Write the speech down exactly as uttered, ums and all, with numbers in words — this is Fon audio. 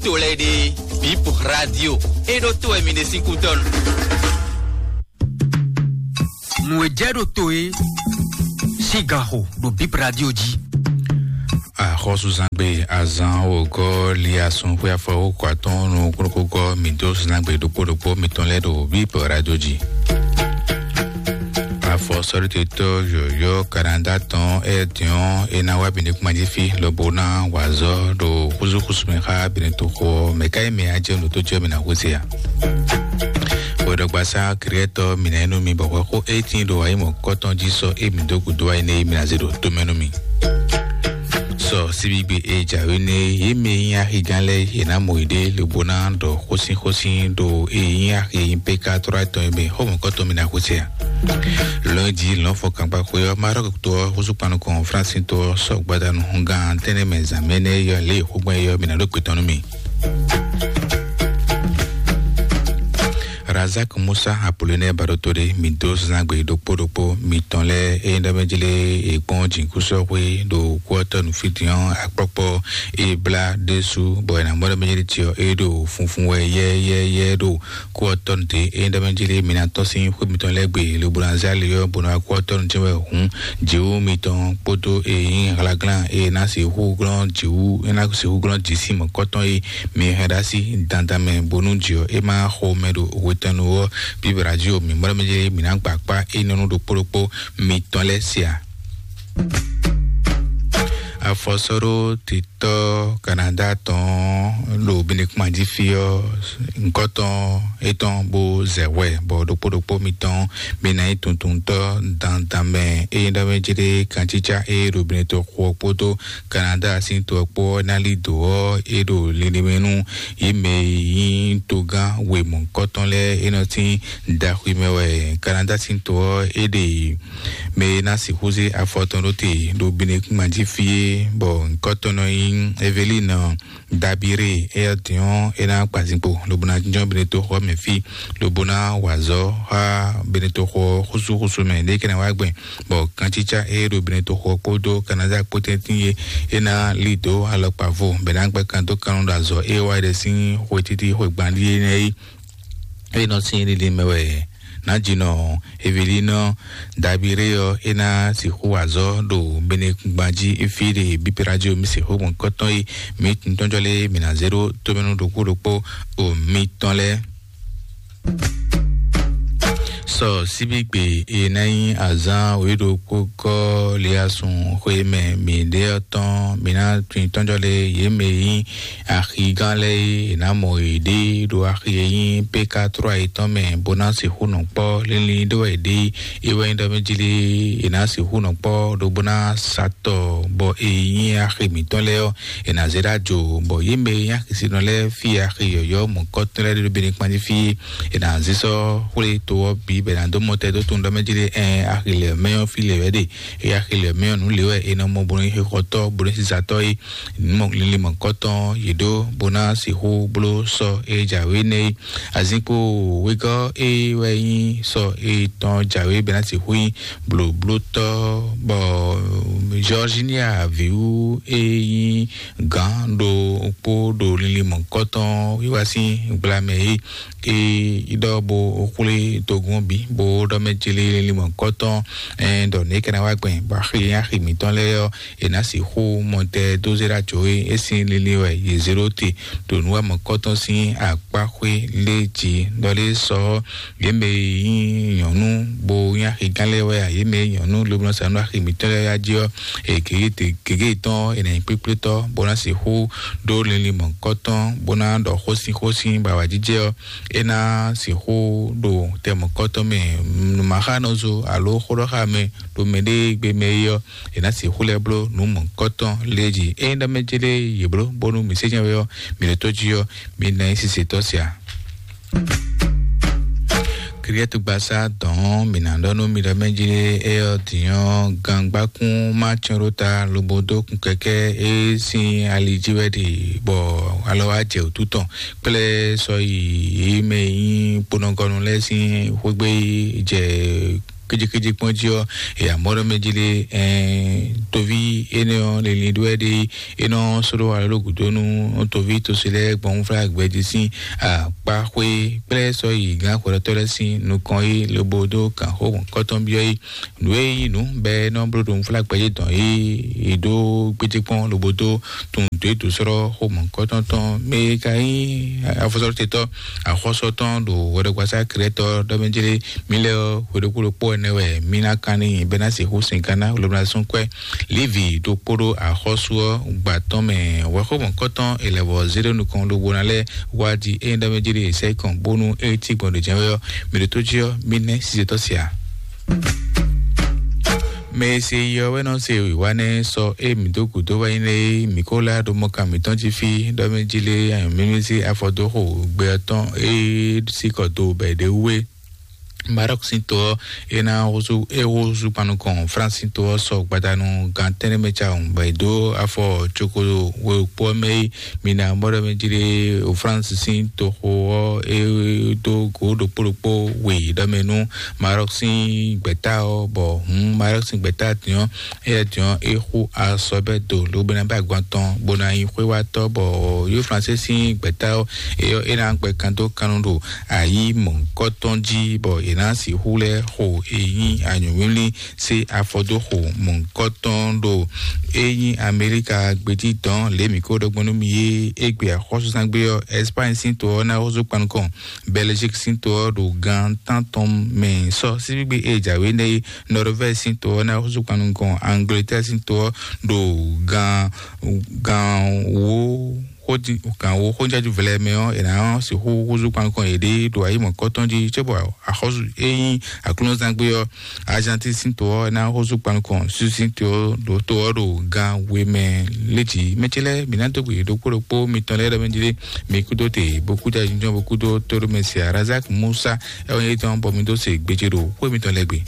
To lɛ́ɛ ɖe, Bip Radio. E ɖo to wɛ mi ɖe sín kútɔ́nu. Nǔ e jɛ ɖo to e sín gan xo ɖo Bip Radio jí. Axɔ́súzangbe azan wǒgɔ́ li asun xwé afɔwókɔ atɔ́ɔ́n nukúnnukúngɔ́ mǐ dó zangbe ɖokpó ɖokpó mitɔn lɛ́ɛ ɖo Bip Radio jí. Afɔ sɔ́ɖótetɔ́ yɔ̌yɔ́ Kanada tɔn Ɛdiɔn é ná wá Benekuma jí fí lobo ná wa azɔ̌ ɖo xúzúxúzú mɛ xá Benetoxo ɔ́, mɛ̌ ka nyí mɛ e ná jɛ nǔ tó jɔ mɛ ná hwesé a? Hwɛɖɔgbasá Kriɛtɔ́ mǐ ná nyí nú mi bɔ hwɛxó e tíin ɖo ayǐmɔ̌kɔ́tɔn jí sɔ́ e mǐ dó gǔdo wá énɛ́ é mi ná zé ɖo tomɛ nú mì. Sɔ síbígbe e jǎwe nɛ́ é, yě mɛ e nyí axigán lɛ́ɛ yě ná mɔ yěɖée lobo ná ɖɔ xósínxósín ɖo e nyí axi e nyí P K trɔ́ tɔn e mɛ xɔmɔ̌kɔ́tɔn mi ná xwesé a? Lɔ̌nyijǐ lɔ̌nfɔ́kangban xwé ɔ́, Marɔ́k to ɔ́, húzú kpan nukɔn Flánsin to ɔ́, sɔ́ gbadanu hɔngán tɛ́nnɛ mɛ zǎn mɛ énɛ́ é yɔ lě e xó gbɔn é ɔ́, mi ná ɖó gbětɔ́ nú mì. Razak Musa Apolonɛ Baɖoto ɖé mi dó zangbe ɖokpó ɖokpó mitɔn lɛ́ɛ é nyí ɖɔ mɛ jlé è kpɔ́n jǐnukúnsin xwé ɖo kú ɔ́ tɔ́ nǔfídín ɔ́ akpɔ́kpɔ́ é blá ɖésú bɔ è nǎ mɔ ɖɔ mɛ jlé tiɔ é ɖo funfun wɛ yɛ́yɛ́yɛ́ ɖo kú ɔ́ tɔ́ nǔ dé é nyí ɖɔ mɛ jlé mi ná tɔ́n sín xwé mitɔn lɛ́ɛ gbe lobo ná zé ali ɔ́ bó ná wá kú ɔ́ tɔ́ nǔ tɛ́nwe hǔn jǐwú mitɔn kpódó e nyí hlaglán e ná sixú glɔ́n jǐwú e ná sixú glɔ́n jǐ sín mɔ̌kɔtɔn e mi hɛn ɖó así dandan mɛ bónú jǐ ɔ́ é má xo mɛ ɖo hwetɛnnu ɔ́ bíbɛ́ jí o mǐ mɔ ɖɔ mɛ jlé mǐ ná gba akpá énɛ́ nú ɖokpó ɖokpó mitɔn lɛ́ɛ se a? Afɔsɔ́ɖó titɔ Kanada tɔn ɖo Benekuma jí fí ɔ́, ŋkɔtɔn étɔn bó zɛ hwɛ bɔ ɖokpó ɖokpó mitɔn mi ná nyí tuntuntɔ́ dandan mɛ. Ényí ɖɔ mɛ jlé kancícá e ɖo Benetoxo ɔ́ kpódó Kanada sín to ɔ́ kpó ɔ́ ná lí dǒ ɔ́, é ɖo linlin mɛ nú yě mɛ e nyí togán wěmɔ̌kɔ́tɔn lɛ́ɛ é nɔ sín daxwi mɛ wɛ. Kanada sín to ɔ́, é ɖe mɛ e ná sixú zé afɔ tɔn ɖó te ɖo Benekuma jí fí é, bɔ ŋkɔ́tɔn nɔ nyí Evelín Dabiré, éyɛ́ din ɔ́, é ná kpa zinkpo lobo ná jínjɔ́n Benetoxo ɔ́ mɛ fí, lobo ná wa azɔ̌ xá Benetoxo ɔ́ xúsúxúsú mɛ ɖě é ka ná wá gbɛn, bɔ kancícá e ɖo Benetoxo ɔ́ kpódó Kanada kpó tɛ́ntin é, é ná lí dǒ alɔkpa vo, bɔ é ná gbɛ́ kan dó kan ɖo azɔ̌ e wá yi ɖe sín xwe títí xwe gban ɖíe nɛ́ é. É nɔ sín lili mɛ wɛ nǎjínɔ Evelínɔ Dabiré ɔ́, é ná sixú wa azɔ̌ ɖo Benekugban jí fí ɖe bípérájú mi sixú gbɔn kɔ́tɔn yi mi tɔnjɔ lé mi ná zé ɖó tómɛnú ɖokpó ɖokpó o mitɔn lɛ́ɛ. Sɔ síbígbe e ná nyí azǎn wěɖokpó gɔ́ liasun xwe mɛ mǐɖée ɔ́ tɔn, mi ná tun tɔnjɔ lé yě mɛ e nyí axigán lɛ́ɛ é, è nǎ mɔ yěɖée ɖo axi e nyí P K trɔ́ yětɔn mɛ, bó ná sixú nɔ kpɔ́. Linlin ɖé wɛ yě ɖe é, é wɛ nyí ɖɔ mɛ jlé è nǎ sixú nɔ kpɔ́ ɖó bó ná sa tɔ, bɔ e nyí axi mǐtɔn lɛ́ɛ ɔ́, è nǎ zé ɖó ajo, bɔ yě mɛ e nyí axisinɔ lɛ́ɛ fí axi yɔ̌yɔ́ mɔ̌kɔ́tɔn lɛ́ɛ ɖé ɖo Benekpan jí fí é, è nǎ zé sɔ́ xwlé to ɔ́ bǐ bɔ è nǎ dó mɔ tɛ́ dó tunwun ɖɔ mɛ jlé ɛn axi lɛ̌ mɛ ɔ́ fí lě wɛ ɖe. É axi lɛ̌ mɛ ɔ́ nǔ lě wɛ è nɔ mɔ bó nɔ nyí xixɔtɔ́ bó nɔ nyí zizatɔ́ é. Mɔ linlin mɔ̌kɔ́tɔn yě ɖó bó ná sixú bló sɔ e jǎwe nɛ́ é. Azinkpo wegɔ́ e wɛ nyí sɔ e tɔn jǎwe bɛ́ ná sixú nyí blǒblótɔ́, bɔ Georginia vǐwú e nyí gǎn ɖo kpó ɖo linlin mɔ̌kɔ́tɔn wíwá sín gblamɛ é. E ɖɔ bó xwlé togun ɔ́ bǐ bó ɖɔ mɛ jlé linlin mɔ̌kɔ́tɔn, ɛn ɖɔ nɛ̌ é ka ná wá gbɛn bɔ axi axi mǐtɔn lɛ́ɛ ɔ́, è nǎ sixú mɔ tɛ dó zé ɖó ajo é, é sín linlin wɛ yě zé ɖó te ɖo nǔ wa mɔ̌kɔ́tɔn sín akpáxwé lé jí. Ɖɔ lé sɔ ɔ́, yě mɛ e nyí nyɔ̌nu bó nyí axigán lɛ́ɛ wɛ a, yě mɛ e nyí nyɔ̌nu lobo nɔ sa nú axi mǐtɔn lɛ́ɛ wɛ a jí ɔ́, e gěgé te- gěgé tɔn ɔ́, è nǎ nyí kplékplétɔ́ bó ná sixú ɖó linlin mɔ̌kɔ́tɔn bó ná ɖɔ xósínxósín bɔ awǎjijɛ ɔ́, é ná sixú ɖo tɛ mɔ̌kɔ́tɔn mɛ, nǔmaxánɔzo alo xóɖɔxámɛ ɖo mɛɖée gbe mɛ é ɔ́, è nǎ sixú lɛ́ bló nǔ mɔ̌kɔ́tɔn lé jí. Ényí ɖɔ mɛ jlé yě bló bónú mǐ sényɛ́ wɛ ɔ́, mǐ ɖo tó jí ɔ́, mi ná nyí sisetɔ́ sia. Kriɛtugbaṣá dɔn mǐ ná ɖɔ nú mi ɖɔ mɛ jlé é ɔ́ din ɔ́, gangbákún má cyɔ́n ɖó ta lobo dó kun kɛkɛ́ é sín ali jí wɛ ɖe, bɔ alɔ wá jɛ wǔtu tɔn kplé sɔ yi yě mɛ e nyí kponɔgɔnu lɛ́ɛ sín xwégbé jɛ kéjekéje kpɔ́n jí ɔ́, e amɔ̌ ɖɔ mɛ jí lé, toví énɛ́ ɔ́, linlin ɖó wɛ ɖe, é nɔ sɔ́ ɖó alɔ ɖó gǔdo nú toví tosi lɛ́ɛ gbɔn fúnfúnlá gbɛjí sín akpáxwé kplɛ́ sɔ́ yi gǎn xwɛɖɔtɔ́ lɛ́ɛ sín nukɔn é, lobo dó gǎnxó mɔ̌kɔtɔn byɔ́ é. Nǔ e nyí nǔ bɔ é nɔ bló ɖo nufúnla gbɛ́jɛ́ dɔn é, è ɖó gbéjékpɔ́n lobo dó tunwun dǒ e dǒ sɔ́ xó mɔ̌kɔtɔn tɔn mɛ e ka nyí afɔsɔ́tɔ́ axɔ́sɔ tɔn ɖo hwɛɖɔgbasá Krɛtɔ ɖɔ mɛ jlé mì lɛ́ɛ ɔ́, hwe ɖokpó ɖokpó ɛnɛ wɛ mì ná kan n'i bɔ é ná sixú sin gán ná lobo ná sún kwɛ́. Levi ɖokpó ɖó axɔ́sú ɔ́ gba tɔn mɛ wɛxó mɔ̌kɔtɔn è lɛ̌ vɔ zé ɖó nukɔn lobo ná lɛ́ wá di ényí ɖɔ mɛ jlé è sɛ́ kɔn bónú é cí gbɔn ɖo jɛ́n wɛ ɔ́, mì ɖo tó jí ɔ́, mì nɛ́ sizetɔ́ sia. Mɛ e se yi ɔ́ wɛ nɔ se wǐwá nɛ́ sɔ e mǐ dó gǔdo wɛ nyí lé mǐ ko lá ɖo mɔkan mǐtɔn jí fí ɖɔ mɛ jí lé anyǔmímí sí afɔ dó xo gbɛ ɔ́ tɔn e sí kɔ do bɔ è ɖe wú é. Maroc sín to ɔ́, é ná húzú é húzú kpan nukɔn France sín to ɔ́ sɔ gbadanu gan tɛ́nnɛ mɛ cawun bɔ è dó afɔ coko wekpó ɔ́ mɛ é. Mina mɔɖɔ mɛ jí ɖe o France sín toxo ɔ́, é dó go ɖokpó ɖokpó we ɖɔ mɛ nú Maroc sín gbɛ̌ta ɔ́, bɔ hǔn Maroc sín gbɛ̌ta din ɔ́, éyɛ́ din ɔ́, é xú asɔ bɛ́ do lobɛ́nɛbɛ́ agban tɔn bó ná nyí xwéwátɔ́, bɔ yó Fransé sín gbɛ̌ta ɔ́, é ɔ́, é ná gbɛ kan dó kannú ɖo ayǐ mɔ̌hunkɔtɔn jí, bɔ è nǎ sixú lɛ́ xo e nyí anyǔwlí sí afɔ dó xo mɔ̌hunkɔtɔn ɖo é nyí Amɛlíka gbéjí dɔn lě mǐ ko ɖɔ gbɔn nú mi é. Égbé axɔ́súzán gbé ɔ́, Ɛspány sín to ɔ́ ná húzú kpan nukɔn Bɛlɛzík sín to ɔ́ ɖo gan tántɔn mɛ sɔ síbígbe e jǎwe nɛ́ é. Nɔrvɛ́zi sín to ɔ́ ná húzú kpan nukɔn Angleterre sín to ɔ́ ɖo gan gan wó xódi gan wó xójájú vlɛ mɛ ɔ́, è nǎ sixú húzú kpan nukɔn yěɖée ɖo ayǐ mɔ̌kɔtɔn jí cóbɔ axɔ́sú e nyí aklúnɔzángbé ɔ́, Argentine sín to ɔ́ ná húzú kpan nukɔn Suisse sín to ɔ́ ɖo to ɔ́ ɖo gan we mɛ. Létí mɛ ce lɛ́ɛ mǐ ná dó gbe ɖokpó ɖokpó mitɔn lɛ́ɛ ɖɔ mɛ jí lé mi kúdó te bó kúdó ayinjɔ́n bó kúdó tóɖó mɛ se Razak Musa, ɛ wɔ nyɛ tɔn bɔ mi dó se gbéjé ɖo xwé mitɔn lɛ́ɛ gbe.